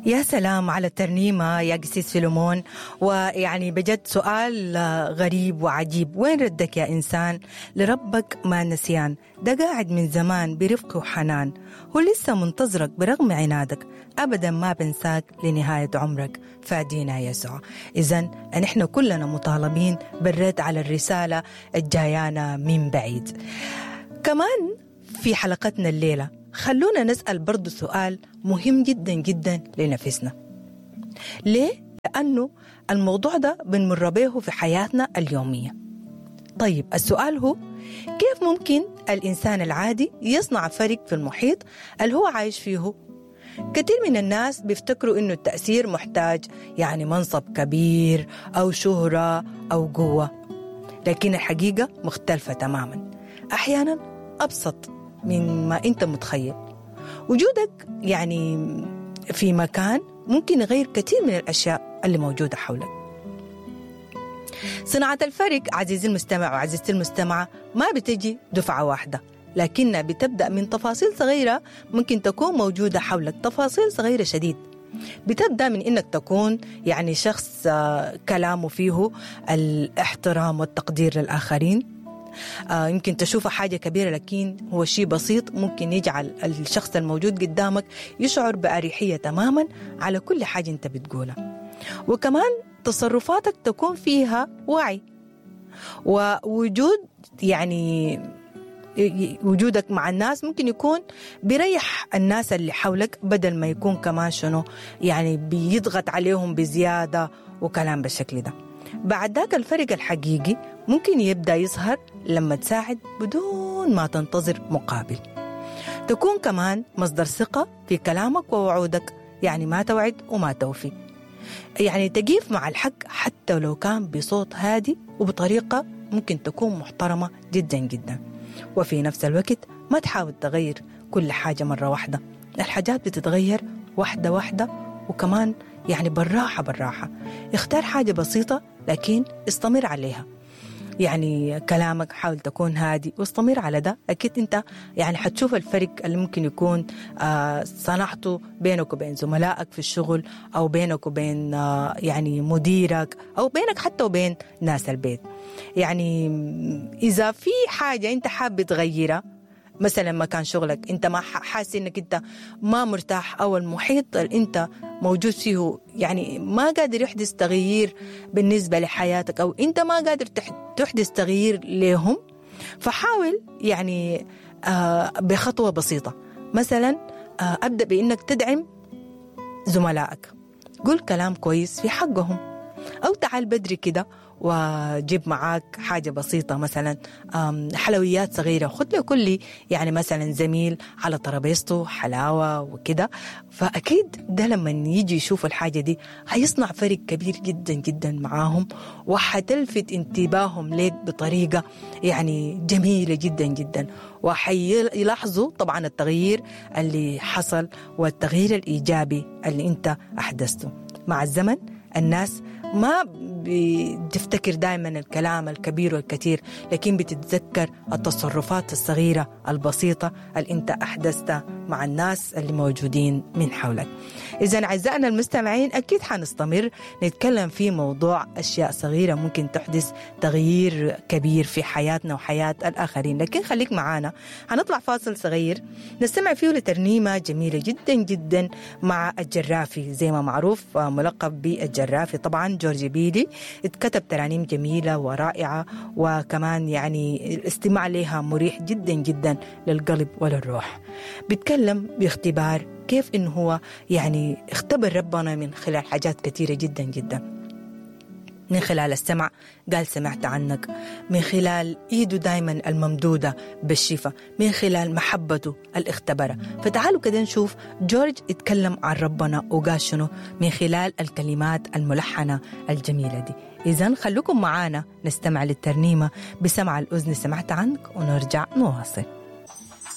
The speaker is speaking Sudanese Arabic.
يا سلام على الترنيمة يا قسيس فيلمون. ويعني بجد سؤال غريب وعجيب، وين ردك يا إنسان لربك ما نسيان؟ ده قاعد من زمان برفق وحنان، هو لسه منتظرك برغم عنادك، أبدا ما بنساك لنهاية عمرك، فادينا يسوع. إذن نحن كلنا مطالبين بالرد على الرسالة الجايانا من بعيد. كمان في حلقتنا الليلة خلونا نسأل برضو سؤال مهم جدا جدا لنفسنا. ليه؟ لأنه الموضوع ده بنمر به في حياتنا اليومية. طيب السؤال هو كيف ممكن الإنسان العادي يصنع فرق في المحيط اللي هو عايش فيه؟ كثير من الناس بيفتكروا إنه التأثير محتاج يعني منصب كبير أو شهرة أو قوة، لكن الحقيقة مختلفة تماما. أحيانا أبسط من ما أنت متخيل. وجودك يعني في مكان ممكن يغير كثير من الأشياء اللي موجودة حولك. صناعة الفرق عزيزي المستمع وعزيزتي المستمعة ما بتجي دفعة واحدة، لكنها بتبدأ من تفاصيل صغيرة ممكن تكون موجودة حولك، تفاصيل صغيرة شديد. بتبدأ من إنك تكون يعني شخص كلامه فيه الاحترام والتقدير للآخرين. يمكن تشوفه حاجة كبيرة لكن هو شيء بسيط ممكن يجعل الشخص الموجود قدامك يشعر بأريحية تماما على كل حاجة أنت بتقولها. وكمان تصرفاتك تكون فيها وعي ووجود، يعني وجودك مع الناس ممكن يكون بيريح الناس اللي حولك بدل ما يكون كمان شنو يعني بيضغط عليهم بزيادة وكلام بالشكل ده. بعد ذاك الفرق الحقيقي ممكن يبدأ يظهر لما تساعد بدون ما تنتظر مقابل. تكون كمان مصدر ثقة في كلامك ووعودك، يعني ما توعد وما توفي، يعني تقيف مع الحق حتى لو كان بصوت هادي وبطريقة ممكن تكون محترمة جدا جدا. وفي نفس الوقت ما تحاول تغير كل حاجة مرة واحدة، الحاجات بتتغير واحدة واحدة، وكمان يعني بالراحة بالراحة. اختار حاجة بسيطة لكن استمر عليها، يعني كلامك حاول تكون هادي واستمر على ده. أكيد أنت يعني حتشوف الفرق اللي ممكن يكون صنعته بينك وبين زملائك في الشغل، أو بينك وبين يعني مديرك، أو بينك حتى وبين ناس البيت. يعني إذا في حاجة أنت حابب تغيرها، مثلا مكان شغلك انت ما حاسس انك انت ما مرتاح، او المحيط اللي انت موجود فيه يعني ما قادر يحدث تغيير بالنسبة لحياتك، او انت ما قادر تحدث تغيير لهم، فحاول يعني بخطوة بسيطة. مثلا ابدأ بانك تدعم زملائك، قول كلام كويس في حقهم، او تعال بدري كده وجيب معاك حاجة بسيطة، مثلا حلويات صغيرة، خد لكل يعني مثلا زميل على ترابيزته حلاوة وكده. فأكيد ده لما يجي يشوف الحاجة دي هيصنع فرق كبير جدا جدا معاهم، وحتلفت انتباههم ليك بطريقة يعني جميلة جدا جدا، وحيلاحظوا طبعا التغيير اللي حصل والتغيير الإيجابي اللي انت أحدثته. مع الزمن الناس ما بتفتكر دائما الكلام الكبير والكثير، لكن بتتذكر التصرفات الصغيرة البسيطة اللي انت أحدثتها مع الناس اللي موجودين من حولك. إذا أعزائنا المستمعين أكيد حنستمر نتكلم في موضوع أشياء صغيرة ممكن تحدث تغيير كبير في حياتنا وحياة الآخرين، لكن خليك معانا، هنطلع فاصل صغير نستمع فيه لترنيمة جميلة جدا جدا مع الجرافي، زي ما معروف ملقب بالجرافي طبعا جورج بيلي. اتكتب ترانيم جميلة ورائعة، وكمان يعني الاستماع لها مريح جدا جدا للقلب وللروح. بيتكلم باختبار كيف إنه هو يعني اختبر ربنا من خلال حاجات كثيرة جدا جدا، من خلال السمع قال سمعت عنك، من خلال ايده دايما الممدودة بالشفاء، من خلال محبته الاختبرة. فتعالوا كده نشوف جورج اتكلم عن ربنا وقال شنو من خلال الكلمات الملحنة الجميلة دي. إذن خلوكم معانا نستمع للترنيمة بسمع الأذن سمعت عنك، ونرجع نواصل.